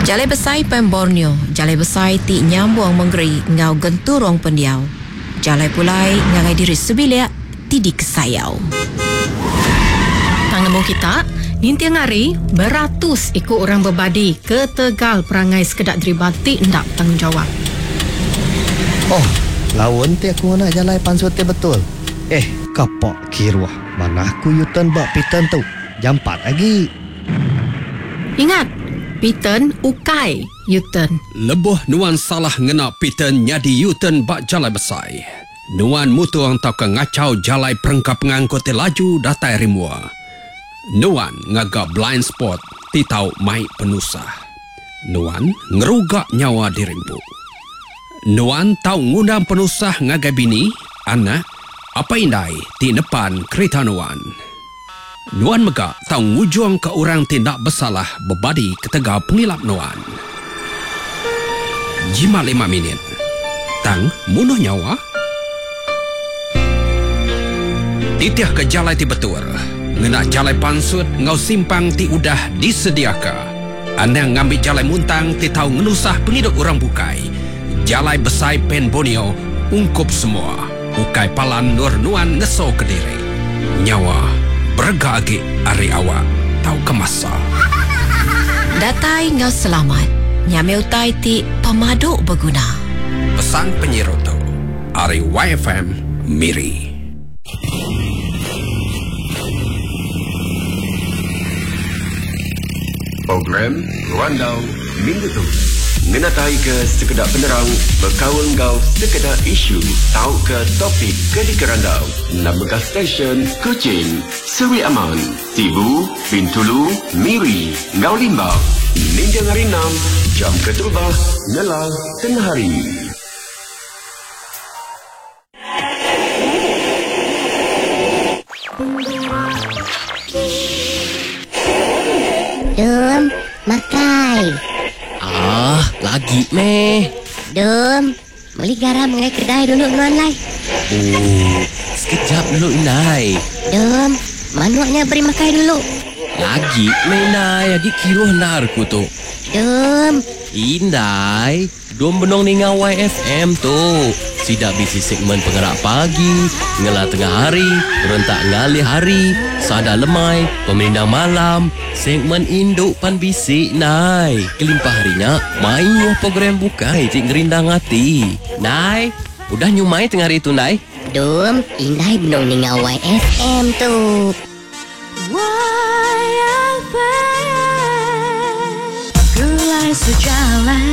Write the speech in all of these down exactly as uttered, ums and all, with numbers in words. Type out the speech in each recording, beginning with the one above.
Jalai Besai Pan Borneo, jalai besai ti nyambung mengeri enggau genturung pendiau. Jalai pulai ngagai diri sebilik ti dikesayau. Tang nemu kita, ninting hari beratus iku orang bebadi ketegal perangai sekeda deriba ti enda betanggungjawap. Oh, laun ti aku ngena jalai pansut ti betul. Eh, kapak kiruh. Manah ku U-turn ba P-turn tu. Jampat agi. Ingat, P-turn ukai U-turn. Lebuh nuan salah ngena P-turn nyadi U-turn ba jalai besai, nuan mutung tauka ngachau jalai perengka pengangkut ti laju datai ari mua. Nuan ngaga blind spot ti tau mai penusah. Nuan ngeruga nyawa diri empu. Nuan tau ngundang penusah ngagai bini, anak, apai indai ti nepan kerita nuan. Nuan mega tau ngujungka orang ti enda besalah bebadi ketegal pengilap nuan. Jimat lima minit. Tang munuh nyawa. Titihka jalai ti betul. Ngena jalai pansut enggau simpang ti udah disediaka. Anang ngambi jalai muntang ti tau ngenusah pengidup orang bukai. Jalai Besai Pan Borneo ungkup semua. Ukai palan nur nuan ngeso ke diri. Nyawa berega agi ari awak tau ke masa. Datai enggau selamat. Nyamai utai ti pemadu beguna. Pesan penyiru tu ari Y F M Miri. Program Randau Minggu tu ngenatai ke sekeda penerang berkaul enggau sekeda isu tauka topik ke dikerandau. Nama stesen Kuching, Seri Aman, Sibu, Bintulu, Miri, enggau Limbang. Ninjang hari enam, jam keterubah, ngelang tengah hari. Dum, makai. Ah, lagi meh. Dum, beli garam mengenai kedai dulu nuan lai. Oh, sekejap dulu Inai. Dum, manuknya beri makai dulu. Lagi meh Inai, lagi kiruh narku tu. Dum. Indai, dum benong ninga Y F M tu. Sidak bisi segmen pengerak pagi, ngelah tengah hari, rentak ngalih hari, sada lemai, pemerindang malam, segmen induk pan bisi nai. Kelimpah harinya, mayuh program bukai cik ngerindang hati. Nai, udah nyumai tengah hari tu nai? Dum, indai benong ninga Y F M tu. Y F M Gulai sejalan.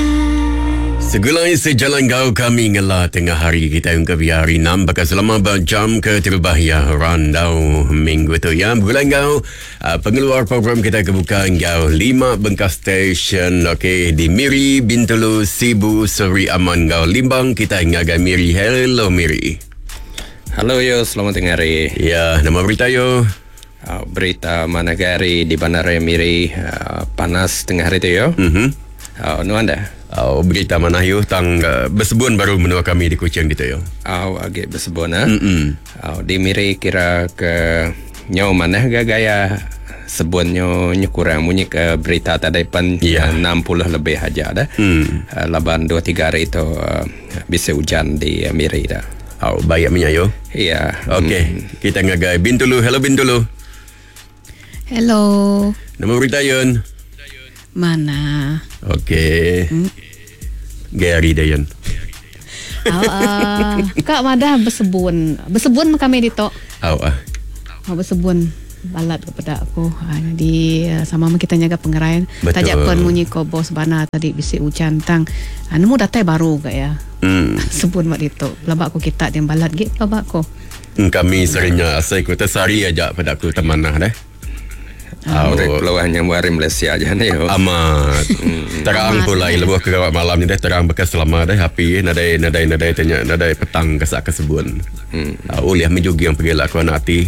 Segulai sejalan kau kami ngelah tengah hari kita yang ke hari enam bakal selama berjam ke terbahaya randau minggu tu ya. Bergulai kau uh, pengeluar program kita kebuka kau lima bengkas stesen okey di Miri, Bintulu, Sibu, Seri Aman kau Limbang. Kita ngagai Miri. Hello Miri. Halo yo, selamat tengah hari. Ya, nama berita yo. Uh, berita mana hari di Bandar Miri uh, panas tengah hari tu yo. Mhm. Uh, nu anda? Oh, berita mana yo tang uh, bersebun baru menua kami di Kuching gitu yo. Oh, agak bersebun ah. Mm-mm. Oh, di Miri kira ke nyo mana gaya sebunnya nyo kurang bunyi ke berita tadi pan yeah. enam puluh lebih aja dah. Mm. Uh, laban dua tiga hari itu uh, bisa hujan di uh, Miri dah. Oh, baik minyak yo. Iya. Yeah. Okey, mm. Kita ngagai Bintulu. Hello Bintulu. Hello. Nama berita Yun? Mana? Okey. Hmm. Gary Dayan. Oh, uh, Kak Madah bersebun. Bersebun kami di tok. Oh, ah. Oh, bersebun balat kepada aku. Ha, jadi sama kita jaga pengerayan. Tajak pun munyi ko bos bana tadi bisik hujan tang. Ha, nemu datai baru gak ya. Hmm. Sebun mak ditok. Labak aku kita dia balat gik labak aku. Kami seringnya asai ku tersari aja pada aku temanah deh. Oh, peluang yang buat Malaysia aja ni. Amat. Terang pula lebuh ke gawat malam ni deh terang bekas selama deh api nadai nadai nadai tanya nadai petang kesak kesebun. Hmm. Uh, oleh menjugi yang pergi lah aku anak hati.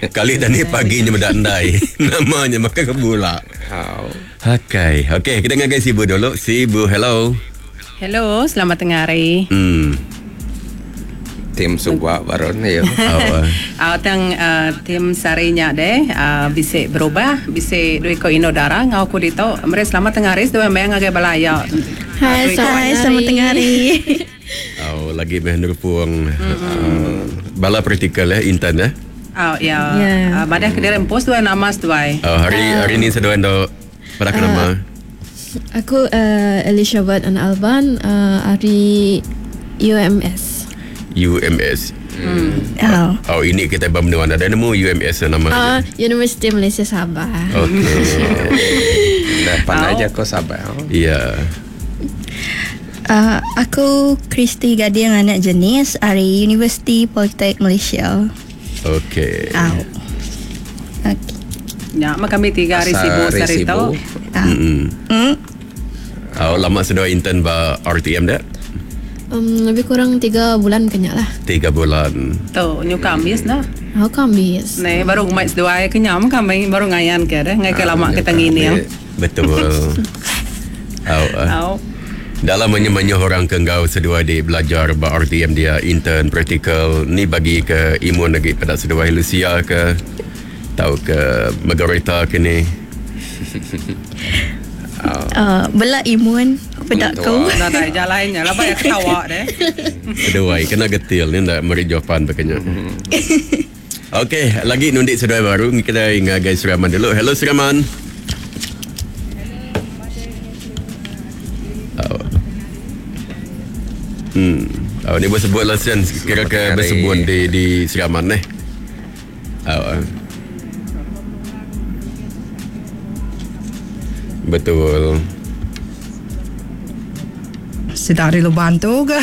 Kali dah ni pagi ni mendak ndai. Namanya makan kebula. Oh. Okey, okey kita ngagai Sibu dulu. Sibu, hello. Hello, selamat tengah hari. Hmm. Tim subak baru ni ya. Ah tang uh, tim sarinya deh uh, bisa berubah, bisa duit ko ino darah ngau ku dito. Mere selamat tengah hari dua meng ngagai balaya. Hai, hai, selamat tengah hari. Oh, lagi meh nerupung uh, bala praktikal eh intern eh. Oh ya. Yeah. Uh, badah ke dalam pos dua nama seduai. Oh, hari uh, hari ni seduai ndo pada uh, nama. Aku uh, Elizabeth an Alban uh, hari U M S. U M S. Hmm. Oh. Oh, ini kita bermenua ada nemu U M S nama. Uh, Universiti Malaysia Sabah. Okey. Dah pandai aja kau Sabah. Ya. Yeah. Uh, aku Kristi Gading anak jenis dari Universiti Politek Malaysia. Okey. Oh. Okey. Ya, mak kami tiga hari sibuk sehari tu. Hmm. Mm. Oh, lama sudah intern ba R T M dah? Um, lebih kurang tiga bulan kenya lah. Tiga bulan. Tu, nyu kamis nah. Oh, kamis. Nih, baru ngumai seduai kenyam kami baru ngayan ke dah. Ngai ke lama kita ngini. Betul. Oh. Oh. Dalam banyak-banyak orang ke engkau seduai di belajar ba R T M dia intern praktikal ni bagi ke imun lagi pada seduai Lucia ke tahu ke Margarita ke ni. Uh, bela imun pada kau. Dah dah jalannya lah banyak ketawa deh. Seduai kena getil ni ndak meri jawapan pakainya. Okey, lagi nundik seduai baru kita ngagai Suraman dulu. Hello Suraman. Hmm. Oh, ni bersebut lah Sian. Kira ke bersebut di di Seraman eh. Oh. Betul. Sedari lu bantu ke?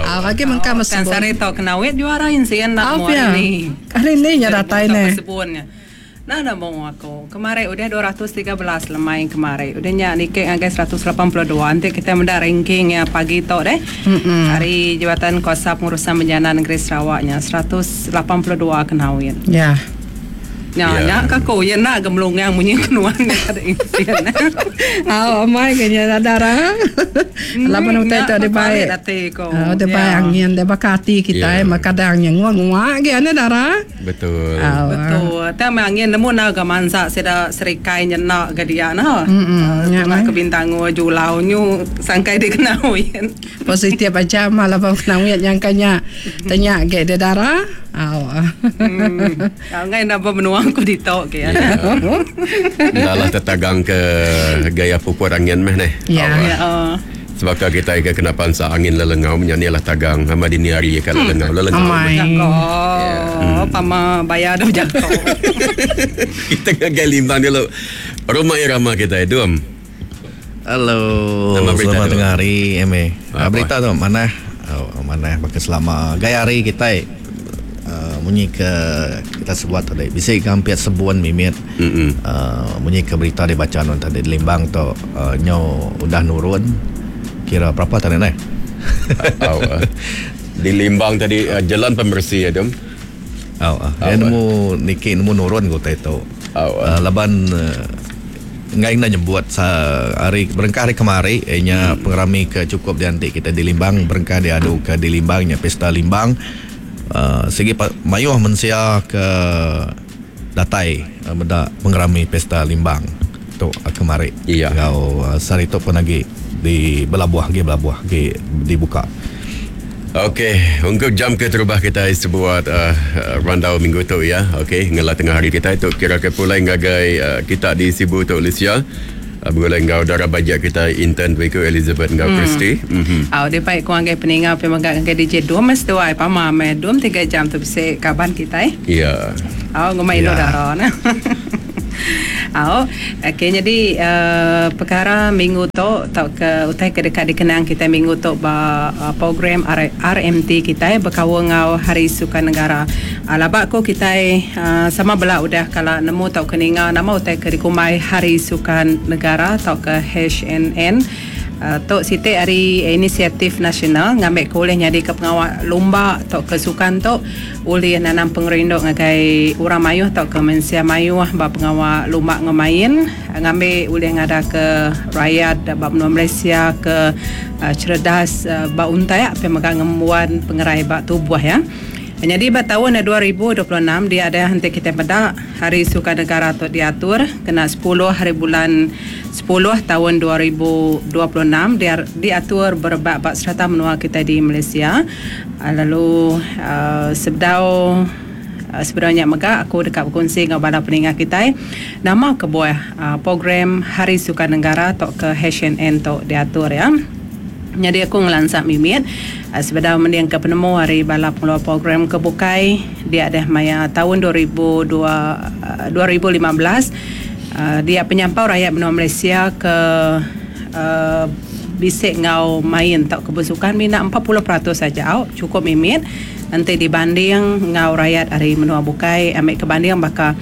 Ah, lagi mengka mesebut. Sari tau kena wet juara insien nak mu ni. Hari ni nya datai ne. Nah, dah mau aku. Kemarin udah dua ratus tiga belas lemai kemarin. Udah nya nikek ngagai seratus lapan puluh dua. Nanti kita menda ranking ya pagi tok deh. Mm-mm. Hari Jabatan Kuasa Pengurusan Bencana Negeri Sarawaknya seratus lapan puluh dua kenawin. Ya. Ya, ya kako ya nak gemlungang munyi kenuan ada insien. Ah, amai kenya darah. Lapan utai tu ada baik. Oh, ada baik angin, ada bakati kita eh makadangnya ngua-ngua ge ane darah. Betul. Betul. Tapi angin nemu nak ke mansa seda serikai nyenak ke dia nah. Heeh. Nak ke Bintango Julau nyu sangkai dia kenawin. Positif aja malah bang kenawin nyangkanya tanya ge dia darah. Aw. Hmm. Ngai nak bermenua aku ditok ke ya. Dah lah tertagang ke gaya pupur angin meh ni. Ya. Ya. Sebab kita ke kena pansa angin lelengau menyanyilah tagang hama dini hari ke lelengau lelengau. Oh, pama bayar dah jatuh. Kita ngagai limbang dulu. Rumah irama kita itu. Halo. Selamat tengah hari M A. Berita tu mana? Oh, mana pakai selama gaya hari kita Uh, munyi ke kita sebut tadi bisa hampir sebuan mimit uh, munyi ke berita dibaca non tadi Limbang tu uh, nyo udah nurun kira berapa tadi ni? Oh, uh, di Limbang tadi uh, jalan pembersih ya dom. Oh, uh, dia nemu niki nemu nurun ko tu. Oh, uh. Uh, laban uh, ngai nak nyebut sa hari berengkah hari kemari nya hmm. pengerami ke cukup diantik kita di Limbang berengkah diadu ke di Limbangnya pesta Limbang. Uh, segi mayuh mensia ke datai uh, benda pengerami pesta Limbang tu uh, kemari. Iya. Ngau uh, sehari tu pun lagi di belabuh lagi belabuh lagi dibuka. Okey, untuk jam ke terubah kita sebuat uh, rundown minggu tu ya. Okey, ngelah tengah hari kita itu kira ke pulai ngagai uh, kita di Sibu tu Malaysia. Bergulai ngau darah bajak kita intern Wiko Elizabeth ngau hmm. Christy. Mhm. Aw dia baik ku anggai peningau pe mangga anggai D J dua mas dua ai pama me dua tiga jam tu bisa kaban kita eh. Ya. Aw ngumai no darah nah. Aw, okey jadi uh, perkara minggu tu tau ke utai ke dekat dikenang kita minggu tu ba uh, program R M T kita berkawan ngau Hari Sukan Negara. Uh, labak ko kita uh, sama bela udah kalau nemu tau ke ninga nama utai ke dikumai Hari Sukan Negara tau ke H N N. Uh, tu siti hari inisiatif nasional ngambil ke ulih nyadi ke pengawal lumba atau ke sukan tu ulih nanam pengerindu ngagai orang mayuh atau ke mensia mayuh ba pengawal lumba ngemain ngambil ulih ngada ke rakyat ba menua Malaysia ke uh, cerdas uh, ba untai pe mega ngembuan pengerai ba tubuh ya. Jadi ba tahun dua ribu dua puluh enam dia ada henti kita pada Hari Sukan Negara tu diatur kena sepuluh hari bulan sepuluh tahun dua ribu dua puluh enam dia diatur berebak bak serata menua kita di Malaysia. Lalu uh, sebedau uh, sebenarnya mega aku dekat berkongsi dengan bala peningah kita nama kebuah uh, program Hari Sukan Negara atau ke H N N tu diatur ya. Jadi aku ngelansak mimit uh, sebedau mending ke penemu hari bala pengeluar program kebukai dia ada maya tahun dua ribu dua, dua ribu lima belas uh, dia penyampau rakyat menua Malaysia ke uh, bisik ngau main tak kebersukan mina empat puluh peratus saja cukup mimit nanti dibanding ngau rakyat hari menua bukai ambil kebanding bakal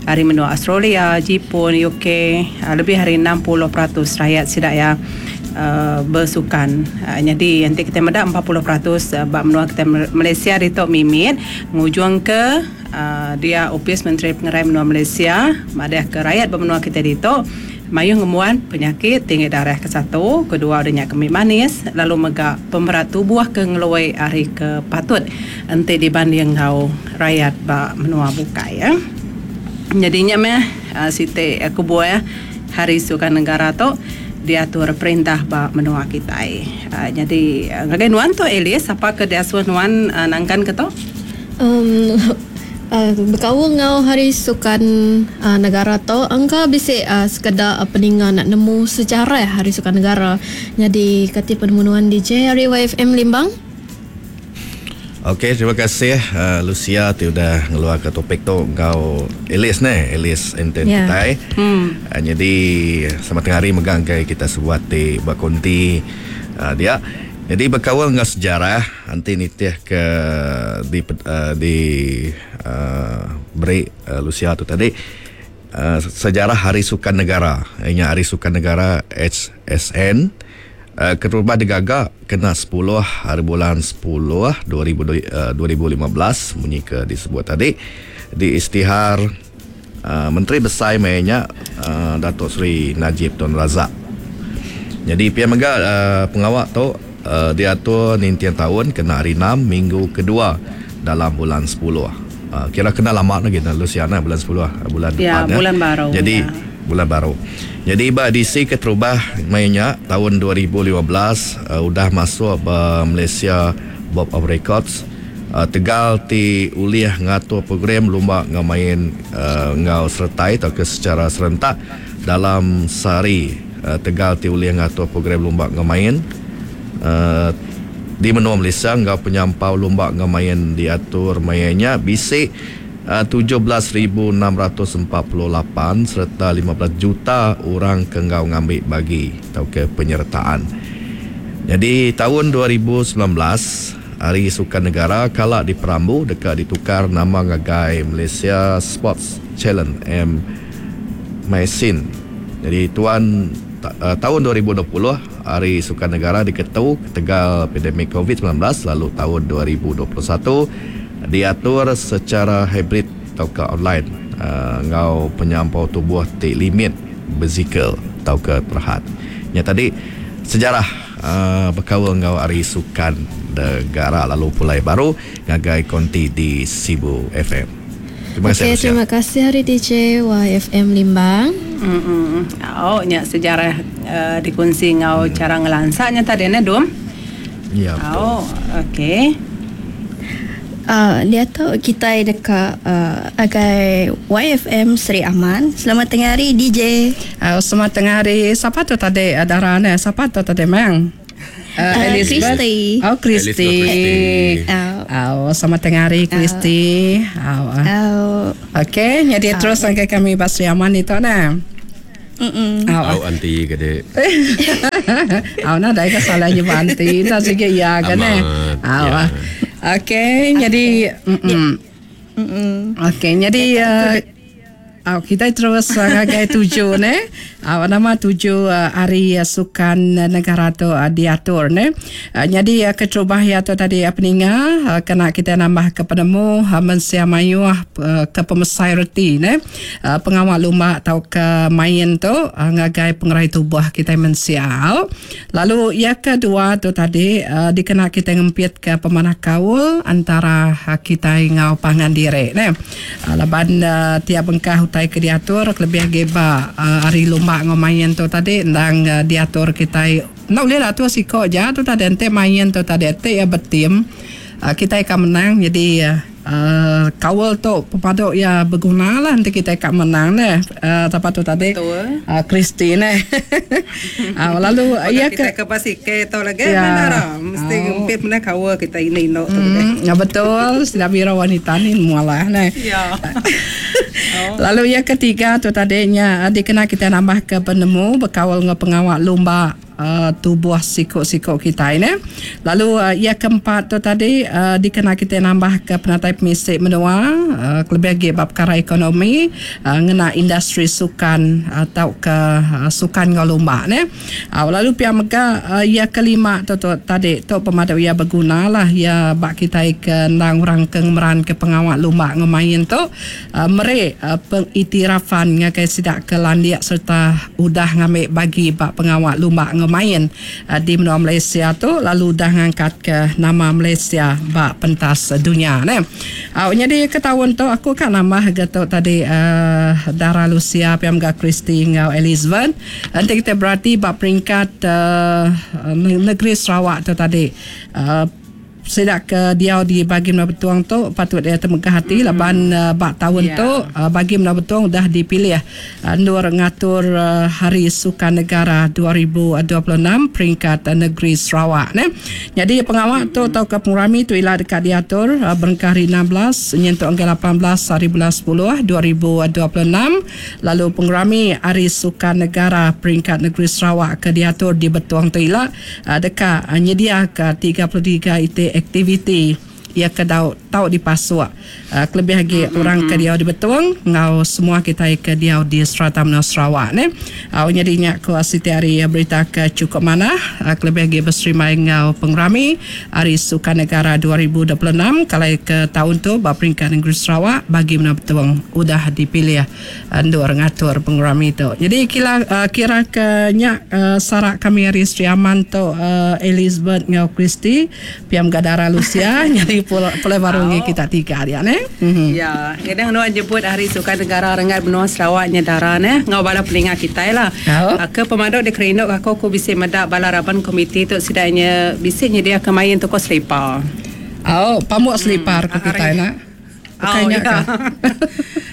hari menua Australia, Jepun, U K uh, lebih hari enam puluh peratus rakyat sidak ya Uh, bersukan. Uh, jadi nanti kita medak empat puluh peratus uh, bab menua kita Malaysia di tok mimit ngujung ke uh, dia Opis Menteri Pengerai Menua Malaysia madah ke rakyat bermenua kita di tok mayuh ngemuan penyakit tinggi darah ke satu, kedua adanya kemik manis, lalu mega pemberat tubuh ke ngeluai hari ke patut enti dibanding ngau rakyat bab menua bukai ya. Jadinya meh uh, siti aku buah Hari Sukan Negara tok diatur perintah ba menua kita. Uh, jadi ngagai nuan tu Elis apa ke diasuh nuan uh, nangkan ke tu? Um uh, berkawal ngau Hari Sukan uh, Negara tu angka bisik uh, sekadar uh, peningan nak nemu sejarah Hari Sukan Negara. Jadi kati penemuan D J Hari Y F M Limbang. Okey, terima kasih uh, Lucia ti udah ngeluar ke topik tu ngau Elis ne, Elis enten yeah. Kita. Hmm. Uh, jadi selamat tengah hari megang ke kita sebuat ti buat konti uh, dia. Jadi berkawal dengan sejarah nanti nitih ke di uh, di uh, beri uh, Lucia tu tadi uh, sejarah Hari Sukan Negara. Ini Hari Sukan Negara H S N. Uh, keterubah digagak kena sepuluh hari bulan sepuluh dua ribu lima belas munyi ke disebut tadi di istihar uh, Menteri Besar mainnya uh, Datuk Seri Najib Tun Razak. Jadi pihak mega uh, pengawak tu uh, diatur nintian tahun kena hari enam minggu kedua dalam bulan sepuluh. Uh, kira kena lama lagi nah Luciana bulan sepuluh bulan ya, depan bulan ya. Baru. Jadi ya. Bulan baru. Jadi ba D C keterubah mainnya tahun dua ribu lima belas uh, udah masuk ba Malaysia Book of Records uh, Tegal ti uliah ngatur program lumba ngamain uh, ngau sertai atau ke secara serentak dalam sehari uh, Tegal ti uliah ngatur program lumba ngamain uh, di menua Malaysia ngau penyampau lumba ngamain diatur mainnya bisik tujuh belas ribu enam ratus empat puluh lapan serta lima belas juta orang kenggau ngambil bagi atau ke penyertaan. Jadi tahun dua ribu sembilan belas Hari Sukan Negara kala di Perambu dekat ditukar nama ngagai Malaysia Sports Challenge M Maisin. Jadi tuan uh, tahun dua ribu dua puluh Hari Sukan Negara diketu ketegal pandemik covid sembilan belas lalu tahun dua ribu dua puluh satu diatur secara hybrid atau ke online uh, ngau penyampau tubuh ti limit berzikal atau ke terhad. Yang tadi sejarah uh, berkawal ngau Hari Sukan Negara lalu pulai baru ngagai konti di Sibu F M. Terima kasih. Okay, terima kasih Hari D J Y F M Limbang. Mm-mm. Oh, nya sejarah uh, dikunci ngau hmm. cara ngelansaknya tadi ne Dum. Ya, betul. Oh, okey. Uh, dia tu kita dekat uh, agai Y F M Seri Aman. Selamat tengah hari D J. Uh, selamat tengah hari. Siapa tu tadi Dara ne? Siapa tu tadi mang? Uh, uh, Christy. Oh, Christy. Oh. Oh, selamat tengah hari Christy. Oh. Oh. Okey, jadi oh. terus sampai kami Seri Aman itu nah. Mm-mm. Oh, anti gede. Oh, nah dah ke salahnya anti. Dah sikit ya kan eh. Oh. Okey, jadi mm. Okey, jadi uh, Uh, kita terus uh, ngagai tuju ne. Uh, nama tuju uh, hari uh, sukan negara tu uh, diatur ne. Uh, jadi uh, keterubah ya tu tadi uh, peninga uh, kena kita nambah ke penemu uh, mensia mayuh uh, ke pemesai reti ne. Uh, pengawal lumba atau ke main tu uh, ngagai pengerai tubuh kita mensia. Lalu yang kedua tu tadi uh, dikena kita ngempit ke pemanah kaul antara uh, kita ngau pangan diri ne. Uh, laban uh, tiap bengkah utai ke diatur lebih geba uh, hari lumba ngomain tu tadi ndang uh, diatur kita nak boleh lah tu siko je tu tadi ente main tu tadi ente ya bertim uh, kita akan menang jadi uh, uh, kawal tu pepaduk ya berguna lah nanti kita akan menang neh uh, apa tu tadi uh, Christine uh, lalu ya kita ke pasike tu lagi ya. Mana mesti ngempit mana kawal kita ini no tu mm, ya betul sudah biro wanita ni mualah neh ya. Oh. Lalu yang ketiga tu tadinya dikena kita nambah ke penemu berkawal dengan pengawal lumba uh, tubuh sikok-sikok kita ini. Lalu uh, yang keempat tu tadi uh, dikena kita nambah ke penatai pemisik menua uh, lebih lagi bab perkara ekonomi uh, ngena industri sukan atau ke uh, sukan ngau lumba ne. Uh, lalu pihak mega uh, yang kelima tu, tu tadi tu pemaduk ia berguna lah ya bak kita ke ndang orang ke ngemeran ke pengawal lumba ngemain tu uh, mere uh, pengiktirafan ngagai sidak ke landiak serta udah ngambil bagi bak pengawal lumba ngemain uh, di menua Malaysia tu lalu dah ngangkat ke nama Malaysia bak pentas dunia ne. Uh, jadi ke tahun tu aku kan nambah getuk tadi uh, Dara Lucia P M G Christy ngau Elizabeth. Nanti kita berarti bak peringkat uh, negeri Sarawak tu tadi uh, sidak ke dia di bagi Menua Betuang tu patut dia temegah hati mm-hmm. laban uh, bak tahun yeah. tu uh, bagi Menua Betuang dah dipilih uh, nur ngatur uh, Hari Sukan Negara dua ribu dua puluh enam peringkat uh, negeri Sarawak ne. Jadi pengawal mm-hmm. tu atau ke pengurami tu ialah dekat diatur uh, berengkah hari enam belas nyentuk angka lapan belas hari bulan sepuluh dua ribu dua puluh enam lalu pengurami Hari Sukan Negara peringkat negeri Sarawak ke diatur di Betuang tu ialah uh, dekat uh, nyedia ke tiga puluh tiga I T aktiviti ia ke dau tau dipasuk uh, kelebih lagi mm-hmm. orang ke diau di Betuang ngau semua kita ke diau di serata menua Sarawak ne. Uh, jadi nya ku siti hari berita ke cukup mana uh, kelebih lagi berserimai ngau pengrami Hari Sukan Negara dua ribu dua puluh enam kalau ke tahun tu ba peringkat negeri Sarawak bagi menua Betuang udah dipilih uh, ndur ngatur pengrami tu. Jadi kira uh, kira ke nya uh, sarak kami hari Sri Aman tu uh, Elizabeth ngau Christy P M Gadara Lucia jadi pulai baru oh. kita tiga dia ne. Mm-hmm. Ya, kadang nuan jemput Hari Sukan Negara rengat benua Sarawak nya dara ne ngau bala pelinga kita lah. Oh. Ke pemaduk di kerinduk aku aku bisa medak bala raban komiti tu sidaknya bisnya dia ke main toko selipar. Oh, pamuk selipar hmm. ke kita nak. Oh, ya.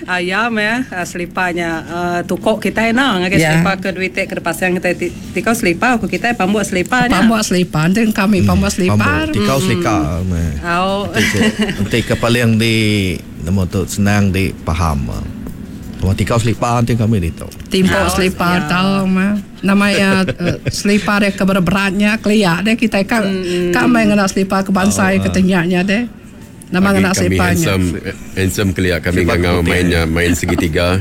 Ayam ya, seliparnya uh, tukok kita nak ngagai yeah. selipar ke duit ke pasang kita tikau selipar aku kita pambuk seliparnya. Pambuk selipar nanti kami hmm. pambuk selipar. Tikau selipar. Oh. Nanti ke paling di nemu tu senang di faham. Cuma tikau selipar nanti kami di tu. Timpuk selipar tahu mah. Namanya uh, selipar dia keberat-beratnya keliak deh kita kan kami ngena selipar ke bangsa oh, ketenyaknya deh. Nama ngena selipanya. Handsome, handsome keliak kami ngangau mainnya main segitiga.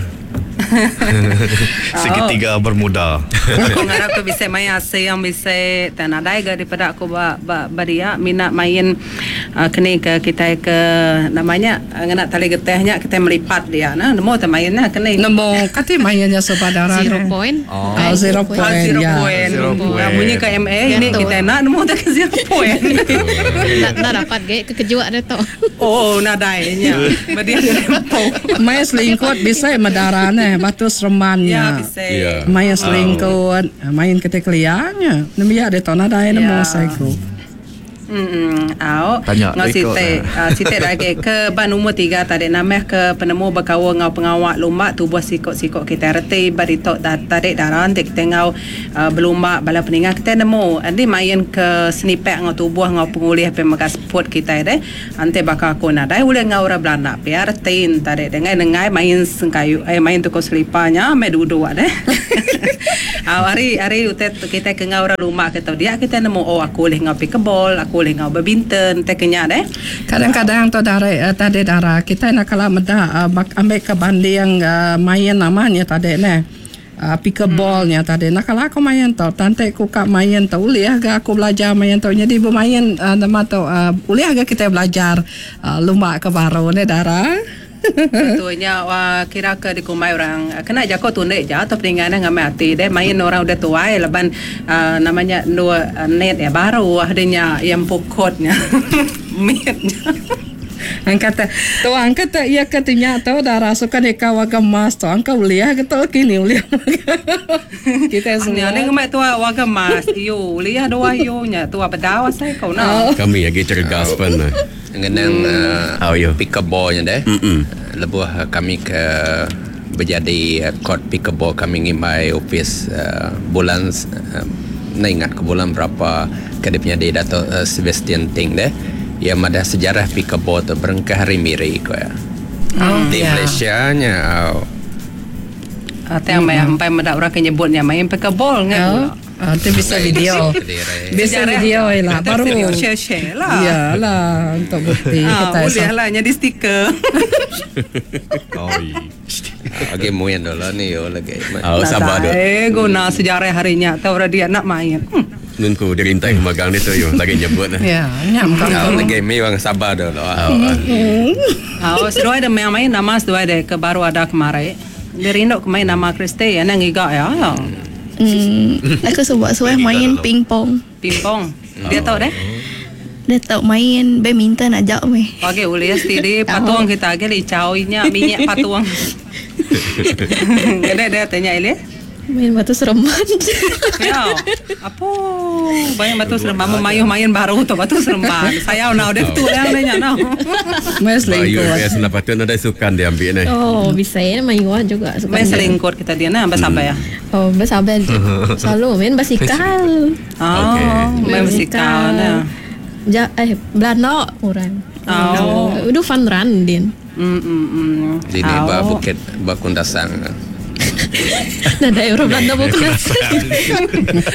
Segitiga bermuda. Aku ngarap aku bisa main ase yang bisa tak nadai ga daripada aku ba ba, ba dia minat main uh, kini ke kita ke namanya ngena tali getehnya kita melipat dia nah nemu ta mainnya kini nemu kati mainnya saudara zero point oh, oh zero point oh, zero ya. point zero point bunyi ke M A ini kita nak nemu tak ke zero point nak nak dapat ge kekejuak dia tu oh nadainya berdia main selingkut bisa medarane batu seremannya. Ya, bisa. Ya. Main selingkut, main ketekliannya. Nembiak dia tahu nadai nemu saiku. Hmm, au. Tanya Ngau site, uh, site lagi ke ban umur tiga tadi namah ke penemu berkawan ngau pengawak lumba tubuh sikok-sikok kita reti baritok tarik darah nanti kita ngau uh, berlumba bala peningat kita nemu nanti main ke senipek ngau tubuh ngau pengulih pe makas sport kita deh nanti bakal aku nadai boleh ngau ora belanda biar reti tarik dengan dengai main sengkayu eh main tukar selipanya me duduk deh. Au hari hari utet kita ke ngau ora lumba kita dia kita nemu oh aku boleh ngau pickleball aku Aku boleh ngau badminton teh kenya deh. Kadang-kadang tu dari uh, tadi dara kita nak kalau meda uh, ambil ke banding uh, main namanya tadi ne. Uh, pickleball nya tadi. Nak kalau aku main tu, tante ku kak main tu boleh ke aku belajar main tu. Jadi bermain uh, nama tu uh, boleh ke kita belajar uh, lumba ke baru ne dara. Betulnya wah, kira ke dikumai orang kena jako tundek je atau peninggalan ngamai hati deh main orang udah tua ya leban uh, namanya dua uh, net ya baru adanya yang pokotnya mitnya. Angkat tu angkat ia katanya tu darah suka deka warga emas tu angkat uliah ke tu kini uliah kita semua ni ngemai tu warga emas iyo uliah dua iyo nya tu apa dah saya kau nak kami lagi cergas pun ngenang uh, pickleball nya deh lebuh kami ke berjadi court pickleball kami ngimbai office uh, bulan uh, nak ingat ke bulan berapa ke dia punya di Dato' uh, Sebastian Ting deh yang ada sejarah pickleball tu berengkah hari miri ko ya. Oh, di ya. Malaysia nya. Atau yang sampai medak orang nyebutnya main pickleball ngan. Ah, tu bisa video. Bisa video lah baru share-share lah. Iyalah untuk bukti ah, kita. Boleh lah jadi stiker. Oh. Okey muin dulu ni yo lagi. Oh, sabar dulu. Eh guna sejarah harinya tahu orang dia nak main. Hmm. Nunku dirintai magang ni tu yo lagi nyebut lah. Ya, nyam kau. Lagi mi bang sabar dulu. Oh, seduai ada main-main nama seduai ada ke baru ada kemarin. Dia rindu ke main nama Kristi ya nang ngiga ya. Hmm, aku sebab suai main pingpong. Pingpong. Dia tahu deh. Dia tahu main badminton ajak meh. Okey, boleh steady patung kita ke licau nya minyak patung. Dia dia tanya Elis. Main batu seremban. Ya. Apa? Banyak batu seremban main baru tu batu seremban. Saya nak udah tu yang dia nak. Main selingkuh. Ya, senapa tu ada sukan dia ambil ni. Oh, bisa ya main gua juga sukan. Main selingkuh kita dia nah bersabar ya. Oh, bersabar. Selalu main basikal. Oh, main basikal nah. Ja, eh Belanda orang. Oh. Udah fun run din. Mm mm mm. Di ni ba bukit ba Kundasang. Nah, daerah Belanda bukan nasi.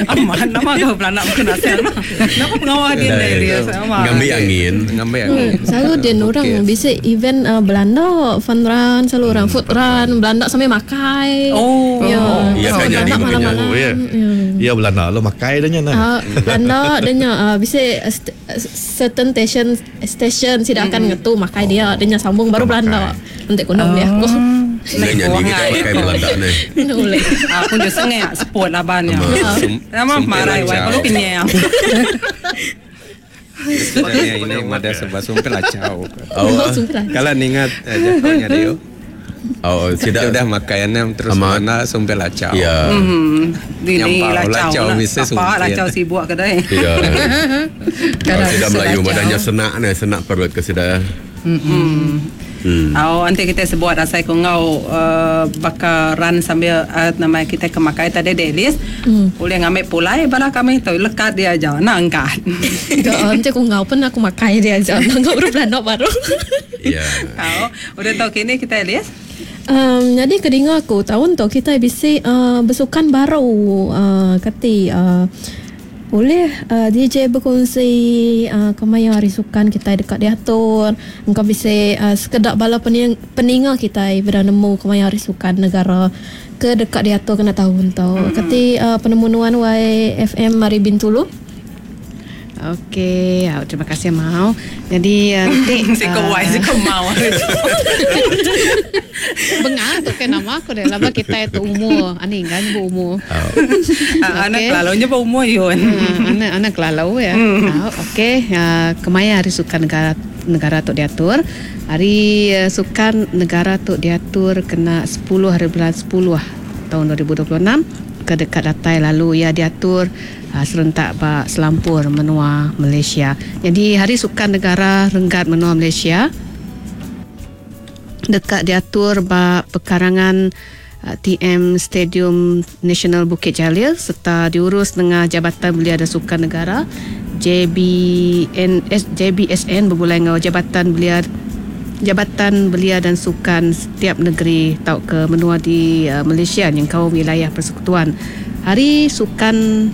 Aman, nama kau Belanda bukan nasi. Nama pengawal dia dia sama. Ngambil angin, ngambil angin. Selalu dia orang bisa event uh, Belanda fun run, selalu orang food run, Belanda sampai makai. Oh. Ya, ya kan jadi malam-malam. Ya Belanda lo makai dah nya. Belanda dia nya bisa certain station station tidak akan ngetu makai dia, dia nya sambung baru Belanda. Nanti kono boleh aku. Dia jadi kita pakai Belanda ni. Boleh. Aku je sengak sport lah banyak. Nama marah wai kalau kenyang. Sebenarnya ini ada sebab sumpah lacau. Kalau ingat jatuhnya dia. Oh, tidak sudah makanan terus mana sumpah lacau. Ya. Ini lacau. Apa lacau sibuk kedai. Ya. Kalau tidak Melayu badannya senak ni, senak perut ke sudah. Hmm. Hmm. Oh, nanti kita sebut asai ku ngau uh, bakal run sambil uh, nama kita kemakai tadi delis. Hmm. Boleh ngambil pulai bala kami tu lekat dia aja nak angkat. Ya, nanti aku ngau pun aku makai dia aja. Ngau baru belanda baru. Ya. Oh, udah tahu kini kita Elis. Um, jadi kedinga aku tahun tu kita bisa uh, bersukan baru uh, kati uh, boleh uh, D J berkongsi uh, kemaya hari sukan kita dekat diatur. Engkau bisa uh, sekedak bala pening, peninga kita bernemu kemaya hari sukan negara ke dekat diatur kena tahun tu. Mm-hmm. Kati uh, penemuan Y F M Mari Bintulu. Okey, oh, terima kasih mau. Jadi nanti uh, si kau wai si kau mau. Bengang tu kan nama aku dah lama kita itu umur. Ani kan bu umur. Oh. Anak kelalaunya bu umur yun. Anak anak kelalau ya. Oh, okey, uh, kemaya hari sukan negara negara tu diatur. Hari uh, sukan negara tu diatur kena sepuluh hari bulan sepuluh tahun dua ribu dua puluh enam ke dekat datai lalu ia diatur uh, serentak bak selampur menua Malaysia. Jadi hari sukan negara renggat menua Malaysia dekat diatur bak pekarangan uh, T M Stadium Nasional Bukit Jalil serta diurus dengan Jabatan Belia dan Sukan Negara J B N S J B S N berbulan dengan Jabatan Belia Jabatan Belia dan Sukan setiap negeri tau ke menua di uh, Malaysia yang kau wilayah persekutuan. Hari Sukan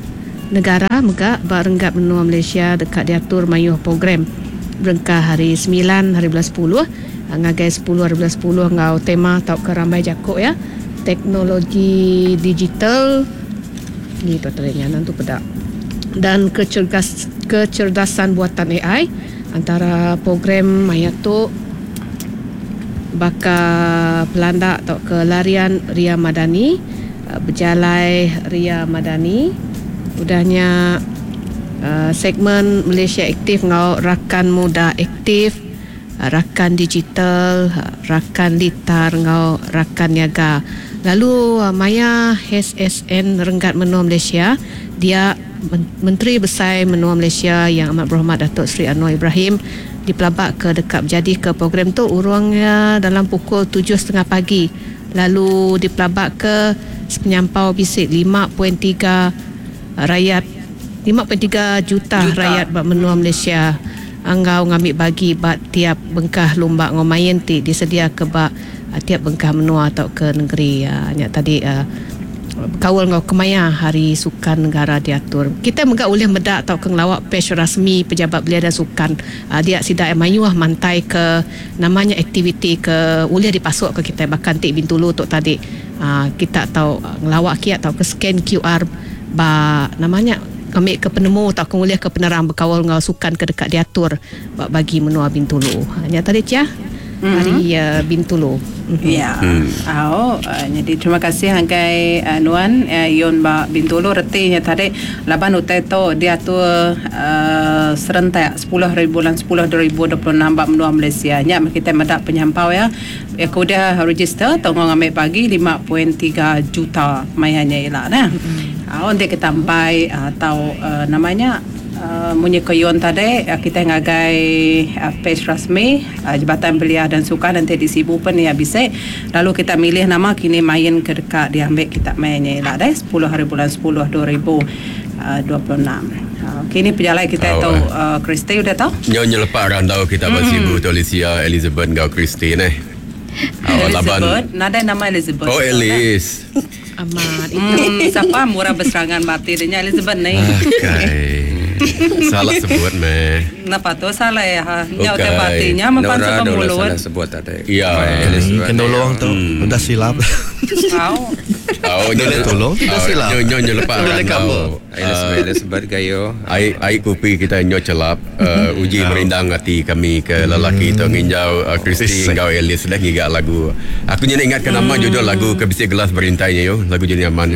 Negara mega ba renggat menua Malaysia dekat diatur mayuh program berengkah hari sembilan hari bulan sepuluh ngagai sepuluh hari bulan sepuluh ngau tema tau ke rambai jakuk ya teknologi digital ni tu terenya nanti pedak dan kecergas, kecerdasan buatan A I antara program maya tu baka pelanda atau ke larian Ria Madani, berjalai Ria Madani, udahnya uh, segmen Malaysia Aktif ngau Rakan Muda Aktif, Rakan Digital, Rakan Litar ngau Rakan Niaga. Lalu uh, maya H S N Renggat Menua Malaysia, dia Menteri Besar Menua Malaysia yang amat berhormat Datuk Seri Anwar Ibrahim dipelabak ke dekat berjadi ke program tu urangnya dalam pukul tujuh tiga puluh pagi. Lalu dipelabak ke penyampau bisik lima perpuluhan tiga rakyat lima perpuluhan tiga juta, juta rakyat bak menua Malaysia anggau ngambil bagi bak tiap bengkah lumba ngomain ti disedia ke bak tiap bengkah menua atau ke negeri. Nya tadi uh, kawal ngau kemaya hari sukan negara diatur. Kita megak boleh medak atau ke ngelawak page rasmi pejabat belia dan sukan. Uh, dia sidak mayuah mantai ke namanya aktiviti ke boleh dipasuk ke kita bahkan tik Bintulu tok tadi. Uh, kita tahu ngelawak kia atau ke scan Q R ba namanya ambil ke penemu atau ke boleh ke penerang berkawal ngau sukan ke dekat diatur bagi menua Bintulu. Hanya tadi cia mm-hmm. hari uh, Bintulu. Mm-hmm. Ya. Hmm. Oh, uh, jadi terima kasih hanggai uh, Nuan uh, Yon ba Bintulu retinya tadi laban utai tu diatur uh, serentak sepuluh hari bulan sepuluh dua ribu dua puluh enam ba menua Malaysia. Nya kita medak penyampau ya. Ya kuda register tongong ambil pagi lima perpuluhan tiga juta mayanya elak nah. Mm-hmm. Uh, untuk kita sampai atau uh, namanya Uh, munyi koyon tadi uh, kita ngagai uh, page rasmi uh, Jabatan Belia dan Sukan nanti di Sibu pun ya bisa. Lalu kita milih nama kini main ke dekat diambil kita mainnya lah deh sepuluh hari bulan sepuluh dua ribu dua puluh enam. Uh, kini pejalai kita tu uh, Christy udah tahu? Nyo nyelepak randau kita mm. Sibu tu Alicia Elizabeth ngau Christy neh. Elizabeth, nada nama Elizabeth. Oh Elis. Amat itu. Hmm, siapa murah berserangan mati dia Elizabeth ni. Okay. Salah sebut meh. Napa tu salah ya? Nya udah batinya mempan sebab mulut. Salah sebut tadi. Iya. Kena tolong tu udah silap. Kau. Oh, boleh tolong tidak silap. Nyo nyo nyelepak randau. Elizabeth Elizabeth gayo. Ai ai kopi kita nyo celap uji merindang hati kami ke lelaki tu nginjau Christy ngau Elis dah ngigak lagu. Aku nyo ingat ke nama judul lagu ke bisi gelas berintainya yo, lagu jenis aman.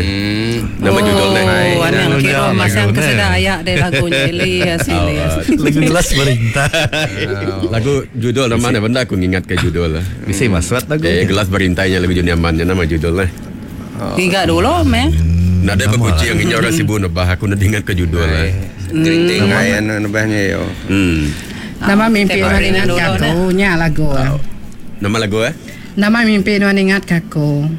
Nama judulnya. Oh, anang kira masang kesedah ayak deh lagunya Elias Elias. Lagu gelas berintai. Lagu judul nama mana benda aku ingat ke judul lah. Bisa masuk lagu. Eh gelas berintainya lagu jenis aman nama judul lah. Tiga dulu meh. Nada berkucing yang orang Sibu nebah aku nak ingat ke judul lah. Gerinting ayan nebahnya yo. Hmm. Nama mimpi nuan ingat kaku nya lagu. Nama lagu eh? Nama mimpi nuan ingat kaku.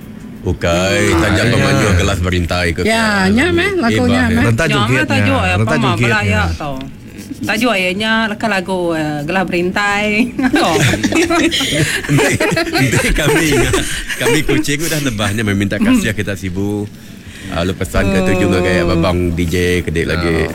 Ukai, tajam pemanju gelas berintai ke. Ya, nya meh lagunya meh. Rentak joget. Tajuk ya, apa mah belayak tau. Tajuk ayahnya leka lagu gelas berintai. Nanti kami kami kucing udah nebahnya meminta kasih kita Sibu. Lalu pesan ke tuju ngagai abang D J kedik lagi.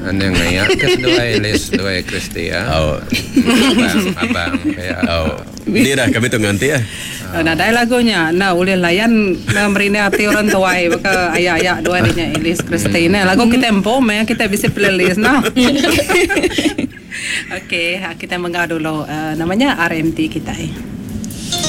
Ane ngayak ke dua Elis dua Christy ya. Oh. Abang abang ya. Oh. Ni dah kami tu nganti ya. Nah, dai lagunya. Nah, boleh layan merina hati orang tua baka ayak-ayak dua ni nya Elis Christy. Nah, lagu kita empom ya, kita bisa playlist nah. Okey, kita menggau dulu uh, namanya R M T kita.